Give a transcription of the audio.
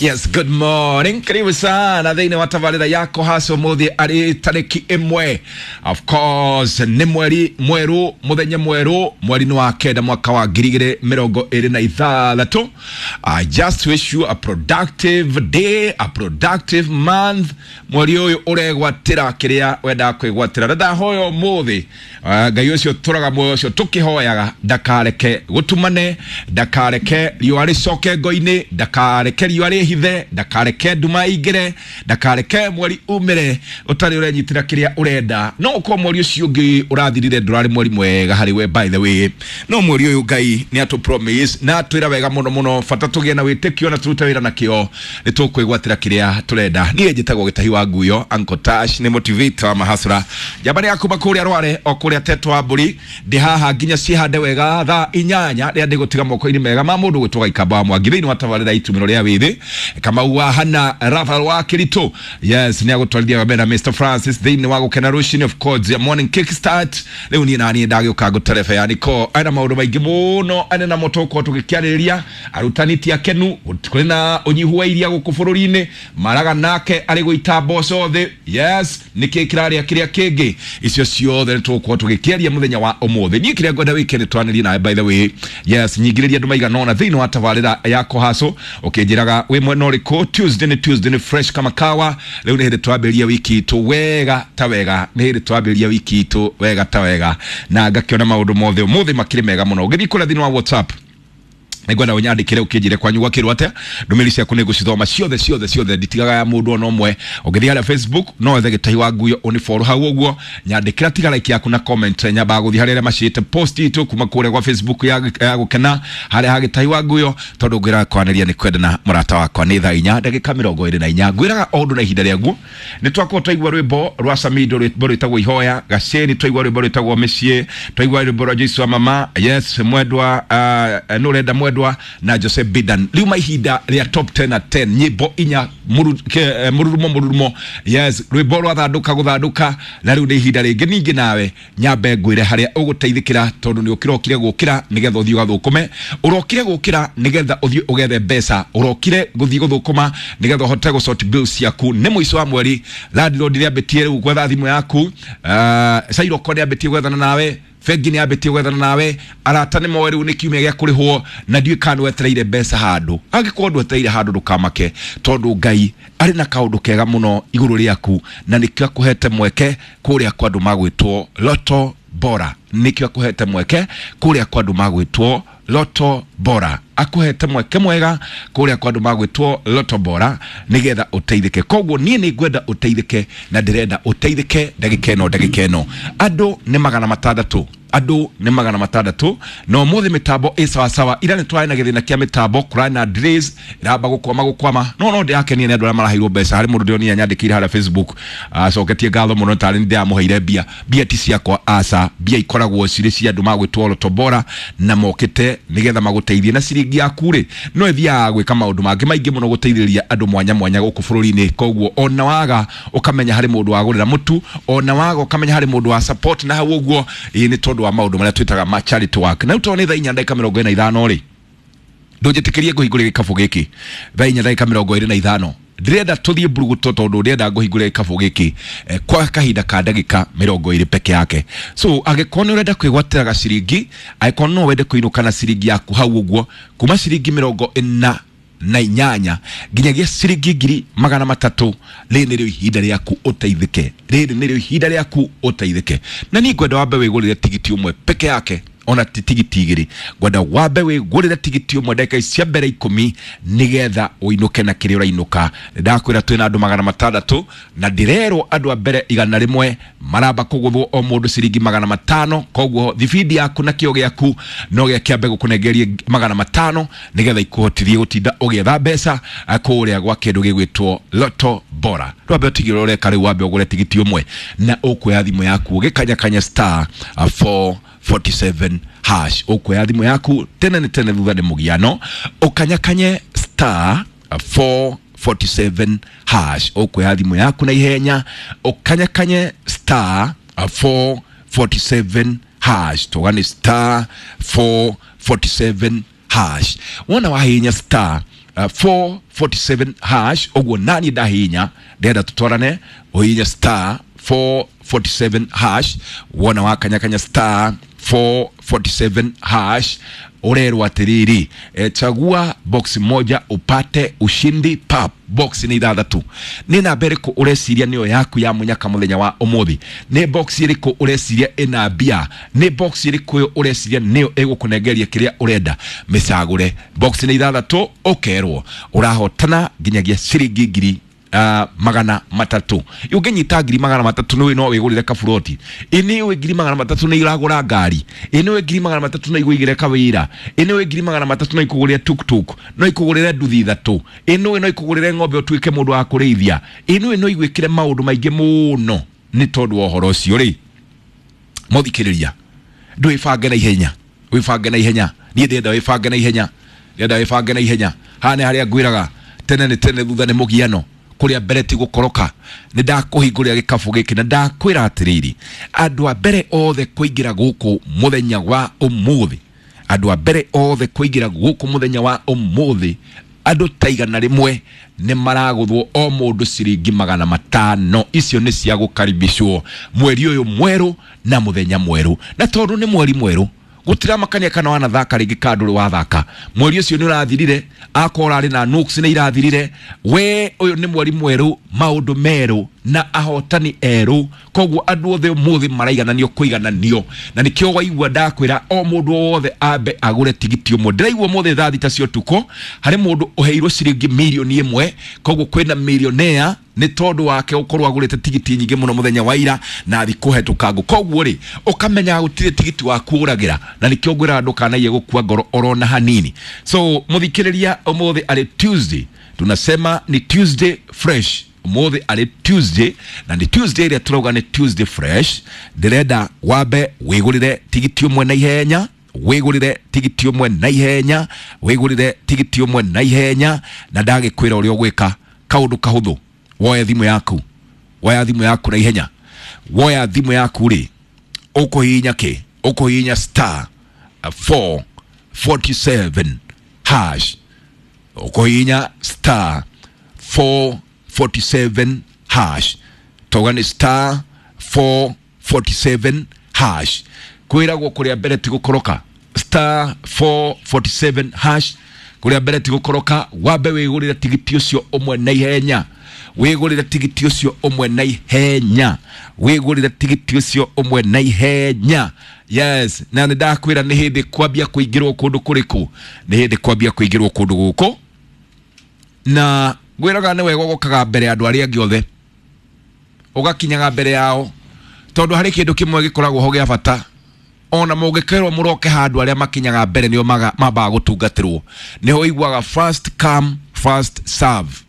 Yes, good morning. Karibu sana thĩinĩ wa tabarĩra yako hasa ũmũthĩ arĩ tarĩki ĩmwe, of course nĩ mweri mwerũ, mũthenya mwerũ, mweri-inĩ wa kenda mwaka wa 2026. I just wish you a productive day, a productive month. Mweri ũyũ ũregwatĩra kĩrĩa wendaga kwĩgwatĩra, na ndahoya ũmũthĩ Ngai ũcio tũraga muoyo ũcio tũkĩhoyaga ndakareke gũtumane, ndakareke riũa rĩcoke ngo-inĩ, ndakareke riũa rĩhithe, ndakareke nduma ĩingĩre, ndakareke mweri umĩre ũtarĩ ũrenyitĩra kĩrĩa ũrenda. No ũkorwo mweri ũcio ũngĩ ũrathirire ndũrarĩ mweri mwega harĩ we, by the way, no mweri ũyũ Ngai nĩ atũ promise na atwĩra wega mũno mũno, bata tũgĩe na wĩtĩkio na tũrute wĩra na kĩo, nĩ tũkwĩgwatĩra kĩrĩa tũrenda. Niĩ njĩtagwo Gĩtahi wa Nguyo, Uncle Tash, nĩ motivator wa mahasura, njamba nĩ yakuma kũrĩa Rware o kũrĩa Tetwa wa mbũri. Ndĩ haha nginya cihande wega thaa 8 rĩrĩa ndĩgũtiga moko-inĩ mega ma mũndũ gwĩtwo Gaikamba wa Mwangi thĩinĩ wa tabarĩra itumĩro rĩa wĩthĩ, Kamau wa Hana Rafael wa Kĩritũ. Yes, nĩ agũtwarithia mbere na Mr Francis thĩinĩ wa gũkena rũcinĩ, of course ya morning kickstart. Rĩu niĩ naniĩ ndagĩũka ngũterebe yani ko ena maũndũ maingĩ mũno ene namo tũgũkorwo tũgĩkĩarĩrĩria. Arutani ti akenu, kũrĩ na ũnyihu wa iria gũkũ bũrũri-inĩ, maraga nake arĩ gũita mboco thĩ. Yes, nĩkĩ kĩrarĩa kĩrĩa kĩngĩ, icio ciothe nĩ tũgũkorwo tũgĩkĩaria mũthenya wa ũmũthĩ. Niĩ kĩrĩa ngwenda wĩke nĩ twanĩrie nawe, by the way. Yes, nyingĩrĩria andũ maigana ũna thĩinĩ wa tabarĩra ya kũhacũ ũkĩnjĩraga wĩ mwena ũrĩkũ. Tuesday nĩ Tuesday, nĩ fresh kama kawa. Rĩu nĩ hĩndĩ twambĩrĩria wiki itũ wega ta wega, nĩ hĩndĩ twambĩrĩria wiki itũ wega ta wega, na ngakĩona maũndũ mothe ũmũthĩ makĩrĩ mega mũno. Ũgĩthiĩ kũrĩa thĩinĩ wa WhatsApp, nĩngwenda ũnyandĩkĩre ũkĩnjĩre kwanyu gwakĩrwo atĩa. Ndũmĩrĩri ciaku nĩngũcithoma ciothe ciothe ciothe, nditigaga ya mũndũ ona ũmwe. Ũngĩthiĩ harĩa Facebook no wethe Gĩtahi wa Nguyo ũnifollow hau ũguo, nyandĩkĩra, tiga like yaku na comment. Nyambaga gũthiĩ harĩa arĩa macĩte post itũ kuma kũrĩa gwa Facebook ya gũkena harĩa ha Gĩtahi wa Nguyo, tondũ ngwĩraga kwanĩria nĩ kwendana, mũrata wakwa. Nĩ thaa 4:24. Ngwĩraga o ũndũ na ihinda rĩaguo. Nĩ twakorwo twaigua rwĩmbo rwa Samido, rwĩmbo rwĩtagwo Ihoya Gacĩni, twaigua rwĩmbo rwĩtagwo Mĩciĩ, twaigua rwĩmbo rwa Joyce wa Mama, yes, mwendwa, nũ ũrenda mwendwa na Jose Bidan. Rĩu ma ihinda rĩa top 10 at 10, nyĩmbo inya mũrurumo mũrurumo. Yes, rwĩmbo rwa thandũka gũthandũka, na rĩu nĩ ihinda rĩngĩ ningĩ nawe nyambe ngwĩre harĩa ũgũteithĩkĩra, tondũ nĩ ũkĩrokire gũkĩra nĩgetha ũthiĩ ũgathũkũme, ũrokire gũkĩra nĩgetha ũthiĩ ũgethe mbeca, ũrokire gũthiĩ gũthũkũma nĩgetha ũhote gũsort bills ciaku. Nĩ mũico wa mweri, landlord nĩ ambĩtie rĩu gwetha thimũ yaku, Sairoko nĩ ambĩtie gwethana nawe, bengi nĩ ambĩtie gwethana nawe, arata nĩ moĩ rĩu nĩ kiumia gĩa kũrĩhwo, na ndiũĩ kana nĩwetereire mbeca handũ. Angĩkorwo ndwetereire handũ, ndũkamake, tondũ Ngai arĩ na kaũndũ kega mũno igũrũ rĩaku, na nĩkĩo akũhete mweke kũrĩa kwa andũ magwĩtwo Loto Bora. Nĩkĩo akũhete mweke kũrĩa kwa andũ magwĩtwo Loto Bora, akũhete mweke mwega kũrĩa kwa andũ magwĩtwo Loto Bora nĩgetha ũteithĩke. Koguo niĩ nĩ ngwenda ũteithĩke, na ndĩrenda ũteithĩke ndagĩka ĩno, ndagĩka ĩno. Andũ nĩ 600, andũ nĩ 600, na ũmũthĩ mĩtambo ĩ sawasawa. Ira nĩ twarĩ na gĩthĩna kĩa mĩtambo, kũrarĩ na delays, ĩramba gũkwama gũkwama, no ndĩrakenia nĩ andũ arĩa maraheirwo mbeca. Harĩ mũndũ ndĩronire nyandĩkĩire harĩa Facebook acoketie ngatho mũno tarĩ nĩ ndĩramũheire mbia. Mbia ti ciakwa, aca, mbia ikoragwo cirĩ cia andũ magwĩtwo Loto Bora, na mokĩte nĩgetha magũteithie. Na ciringi yaku rĩ, no ĩthiaga gwĩka maũndũ mangĩ maingĩ mũno, gũteithĩrĩria andũ mwanya mwanya gũkũ bũrũri-inĩ. Koguo ona waga, ũkamenya harĩ mũndũ wagũrĩra mũtu, ona waga, ũkamenya harĩ mũndũ wa support na hau ũguo. Ĩĩ, nĩ tondũ wa maũndũ marĩa twĩtaga ma charity work. Na rĩu tondũ nĩ thaa 4:45 rĩ, ndũnjĩtĩkĩrie ngũhingũrĩre gĩkabũ gĩkĩ thaa 4:25. Ndĩrenda tũthiĩ mburuguto, tondũ ndĩrenda ngũhingũrĩre gĩkabũ gĩkĩ kwa kahinda ka ndagĩka 20 peke yake. So angĩkorwo nĩ ũrenda kwĩgwatĩra gaciringi, angĩkorwo no wende kũinũka na ciringi yaku hau ũguo, kuma ciringi 48 nginyagia ciringi 300,000, rĩrĩ nĩrĩo ihinda rĩaku ũteithĩke, rĩrĩ nĩrĩo ihinda rĩaku ũteithĩke. Na niĩ ngwenda wambe wĩgũrĩre tigiti ũmwe peke yake, ona ti tigiti igĩrĩ. Ngwenda wambe wĩgũrĩre tigiti ũmwe ndagĩka ici cia mbere 10, nĩgetha ũinũke na kĩrĩa ũrainũka. Ndakwĩra twĩna andũ 600, na ndĩrerwo andũ a mbere 100 maramba kũgũthwo o mũndũ ciringi 500. Koguo thibindi yaku na kĩo gĩaku no gĩa kĩambe gũkũnengerie 500, nĩgetha ikuhotithie gũtinda ũgĩetha mbeca kũrĩa gwa kĩndũ gĩgwĩtwo Loto Bora. Ndwambe ũtigĩrĩre ũreka rĩu, wambe ũgũre tigiti ũmwe, na ũkuoya thimũ yaku ũgĩkanyakanya star 447 hash. Ũkuoya thimũ yaku tene nĩ tene, thutha nĩ mũgiano, ũkanyakanye star 447 hash. Ũkuoya thimũ yaku na ihenya ũkanyakanye star 447 hash, tuga nĩ star 447 hash. Wona wahihinya star 447 hash. Ũguo nani ndahihinya, ndĩrenda tũtwarane, ũhihinye star 447 hash. Wona wakanyakanya star 447 hash, urerwo atiriri, chagua box moja upate ushindi pap. Box nĩ ithathatũ. Nĩ namba ĩrĩkũ ũreciria nĩyo yaku ya mũnyaka mũthenya wa ũmũthĩ? Nĩ box ĩrĩkũ ũreciria ĩna mbia? Nĩ box ĩrĩkũ ĩyo ũreciria nĩyo ĩgũkũnengeria kĩrĩa ũrenda? Mĩcagũre. Box nĩ ithathatũ, ũkerwo ũrahotana nginyagia ciringi ngiri 300. Ũngĩnyita 300,000 nĩ no wĩgũrĩre kaburoti. Ĩ nĩ 300,000 nĩ iragũra ngari. Ĩ nĩ 300,000 no igũigĩre kawĩra. Ĩ nĩ 300,000 no ikũgũrĩre tuktuk, no ikũgũrĩre nduthi ithatũ. Ĩ nĩ no ikũgũrĩre ng'ombe ũtuĩke mũndũ wa kũrĩithia. Ĩ nĩ no igwĩkĩre maũndũ maingĩ mũno. Nĩ tondũ wa ũhoro ũcio rĩ, mũthikĩrĩria, ndwĩbange na ihenya, wĩbange na ihenya. Niĩ ndĩrenda wĩbange na ihenya, ndĩrenda wĩbange na ihenya. Haha nĩ harĩa ngwĩraga tene nĩ tene, thutha nĩ mũgiano, kũrĩa mbere ti gũkoroka. Nĩ ndakũhingũrĩra gĩkabũ gĩkĩ na ndakwĩra atĩrĩrĩ, andũ a mbere othe kũingĩra gũkũ mũthenya wa ũmũthĩ, andũ a mbere othe kũingĩra gũkũ mũthenya wa ũmũthĩ, andũ ta 100 nĩ maragũthwo o mũndũ ciringi 500. Icio nĩ cia gũkaribicwo mweri ũyũ mwerũ na mũthenya mwerũ. Na tondũ nĩ mweri mwerũ, gũtiramakania kana wanathaka rĩngĩ kana ndũrĩ wathaka, mweri ũcio nĩ ũrathirire, akorwo ũrarĩ na nuks nĩ irathirire. We ũyũ nĩ mweri mwerũ, maũndũ merũ na ahotani erũ. Koguo andũ othe ũmũthĩ maraigananio kũigananio, na nĩkĩo waigua ndakwĩra o mũndũ wothe ambe agũre tigiti ũmwe. Ndĩraigua ũmũthĩ thaa 6 cia ũtukũ harĩ mũndũ ũheirwo ciringi 1,000,000. Koguo kwĩna millionaire nĩ tondũ wake gũkorwo agũrĩte tigiti nyingĩ mũno mũthenya wa ira na thikũ hetũkangu. Koguo rĩ, ũkamenya gũtirĩ tigiti waku ũragĩra, na nĩkĩo ngwĩraga ndũkanaiye gũkua ngoro orona hanini. So mũthikĩrĩria, ũmũthĩ arĩ Tuesday, tunasema ni Tuesday fresh. Ũmũthĩ arĩ Tuesday, na nĩ Tuesday ĩrĩa tũrauga nĩ Tuesday fresh. Ndĩrenda wambe wĩgũrĩre tigiti ũmwe na ihenya, wĩgũrĩre tigiti ũmwe na ihenya, wĩgũrĩre tigiti ũmwe na ihenya. Na ndagĩkwĩra ũrĩa ũgwĩka, kaũndũ kahũthũ. Woya thimũ yaku, woya thimũ yaku na ihenya. Woya thimũ yaku rĩ, ũkũhihinya kĩ? Ũkũhihinya star 447 hash. Ũkũhihinya star 447 hash. Tauga nĩ star 447 hash. Kwĩragwo kũrĩa mbere ti gũkoroka. Star 447 hash, kũrĩa mbere ti gũkoroka. Wambe wĩgũrĩre tigiti ũcio ũmwe na ihenya, wĩgũrĩre tigiti ũcio ũmwe na ihenya, wĩgũrĩre tigiti ũcio ũmwe na ihenya. Yes, na nĩ ndakwĩra nĩ hĩndĩ kwambia kũingĩrwo kũndũ kũrĩkũ, nĩ hĩndĩ kwambia kũingĩrwo kũndũ gũkũ. Na ngwĩraga nĩ wega ũgokaga mbere ya andũ arĩa angĩ othe, ũgakinyaga mbere yao, tondũ harĩ kĩndũ kĩmwe gĩkoragwo ho gĩa bata. Ona mũngĩkerwo mũroke handũ, arĩa makinyaga mbere nĩo mambaga gũtungatĩrwo. Nĩho ũiguaga first come first serve.